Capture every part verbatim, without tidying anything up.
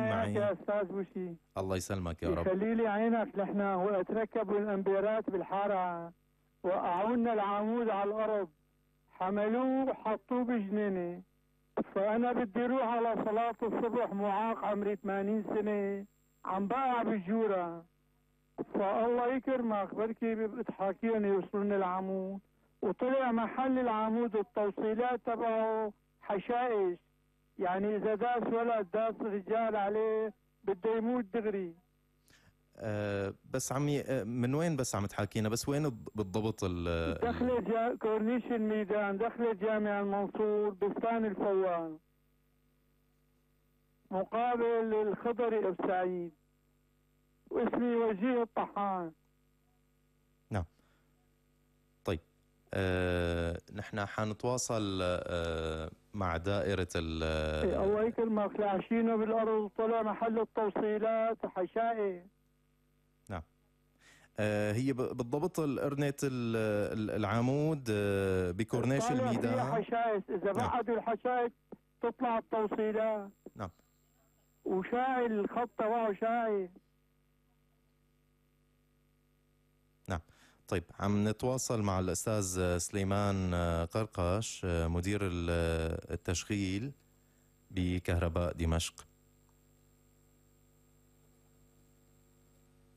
معي. يا استاذ بوشي. الله يسلمك يا رب. يخلي لي عينك. نحن وقت ركبوا الامبيرات بالحاره وقعوا لنا العمود على الارض، حملوه وحطوه بجنينه، فانا بدي اروح على صلاه الصبح، معاق عمري ثمانين سنه، عم بقع بالجوره، فالله يكرمك بركي بتحاكيهم يوصلون العمود، وطلع محل العمود التوصيلات تبعه حشائش، يعني اذا داس ولد داس رجال عليه بده يموت دغري. أه بس عمي من وين بس عم تحاكينا؟ بس وين بالضبط؟ ال دخلة جا... كورنيش الميدان، دخلة جامع المنصور، بستان الفوان، مقابل الخضري ابو سعيد، واسمي وجيه الطحان. نعم. طيب أه نحن حنتواصل أه مع دائرة ال إيه الله يكرمك، لعشينه بالارض طلع محل التوصيلات حشائي. نعم. أه هي بالضبط القرنة العمود أه بكورنيش الميدان. فيها حشائش، اذا نعم. بعدوا الحشائش تطلع التوصيلات. نعم. وشاعي الخط تبعه شاعي. نعم. طيب عم نتواصل مع الأستاذ سليمان قرقش مدير التشغيل بكهرباء دمشق.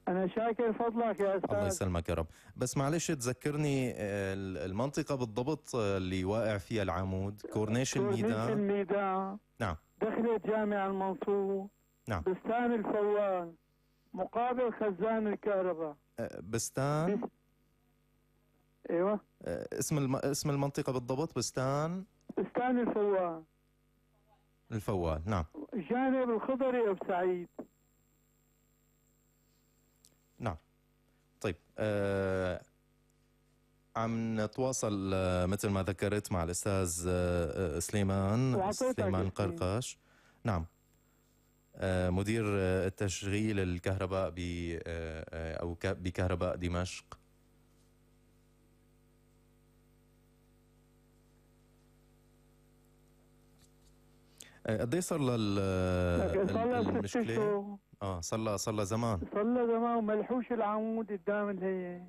أنا شاكر فضلك يا أستاذ. الله يسلمك يا رب. بس معلش تذكرني المنطقة بالضبط اللي واقع فيها العمود. كورنيش الميدان. كورنيش الميدان. نعم. دخلة جامع المنصور. نعم. بستان الفوان، مقابل خزان الكهرباء. بستان بس... ايوه. اسم الم... اسم المنطقة بالضبط بستان بستان الفوان. الفوان. نعم. جانب الخضري ابو سعيد. نعم. طيب آه عم نتواصل آه مثل ما ذكرت مع الأستاذ آه سليمان سليمان قرقش. نعم. آه مدير آه التشغيل الكهرباء ب آه أو بكهرباء دمشق. قد ايه صار للمشكلة؟ اه صار لها صار لها زمان. صار لها زمان وملحوش العمود قدام الهي.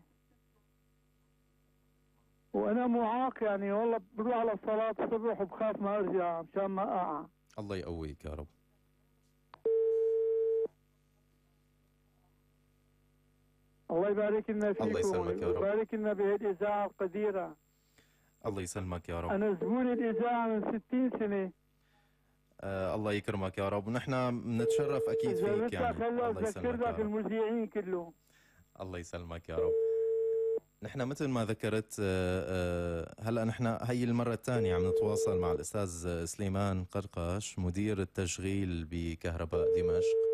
وانا معاق يعني والله بروح على الصلاة الصبح وبخاف ما ارجع مشان ما اقع. الله يقويك يا رب. الله يبارك لنا فيكم. الله يسلمك يا رب. ويبارك لنا بهالإذاعة القديرة. الله يسلمك يا رب. أنا زبون الإذاعة من ستين سنة. آه الله يكرمك يا رب، ونحن بنتشرف اكيد فيك يعني. الله يسلمك لك المذيعين كلهم. الله يسلمك يا رب. نحن مثل ما ذكرت آه آه هلا نحن هي المرة الثانية عم نتواصل مع الأستاذ سليمان قرقش مدير التشغيل بكهرباء دمشق.